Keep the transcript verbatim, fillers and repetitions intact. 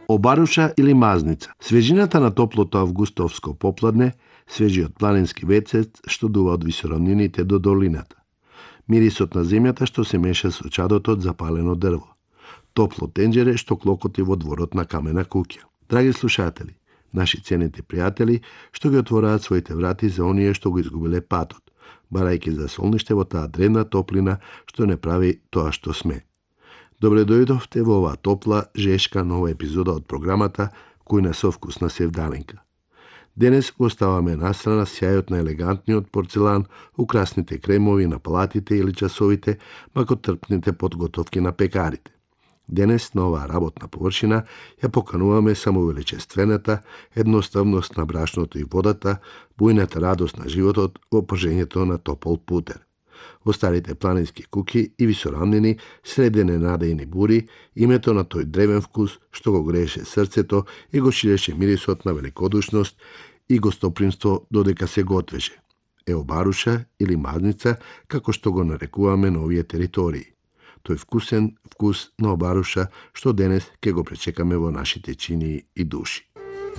Обаруша или мазница. Свежината на топлото августовско попладне, свежиот планински ветер што дува од висоравнините до долината. Мирисот на земјата што се меша со чадото од запалено дрво. Топло тенџере што клокоти во дворот на камена куќа. Драги слушатели, наши ценети пријатели што ги отвораат своите врати за оние што го изгубиле патот, барајќи за солниште во таа древна топлина што не прави тоа што сме. Добре дојдовте во оваа топла, жешка нова епизода од програмата Кујна со вкус на севдалинка. Денес го оставаме настрана сјајот на елегантниот порцелан, украсните кремови на палатите или часовите, макотрпните подготовки на пекарите. Денес на оваа работна површина ја покануваме само величествената едноставност на брашното и водата, бујната радост на животот во пожењето на топол путер. Во старите планински куќи и висоравнини, среде ненадејни бури, името на тој древен вкус што го грееше срцето и го ширеше мирисот на великодушност и гостопримство додека се готвеше. Еобаруша или мазница, како што го нарекуваме на овие територии. Тој вкусен вкус на обаруша што денес ќе го пречекаме во нашите чинии и души.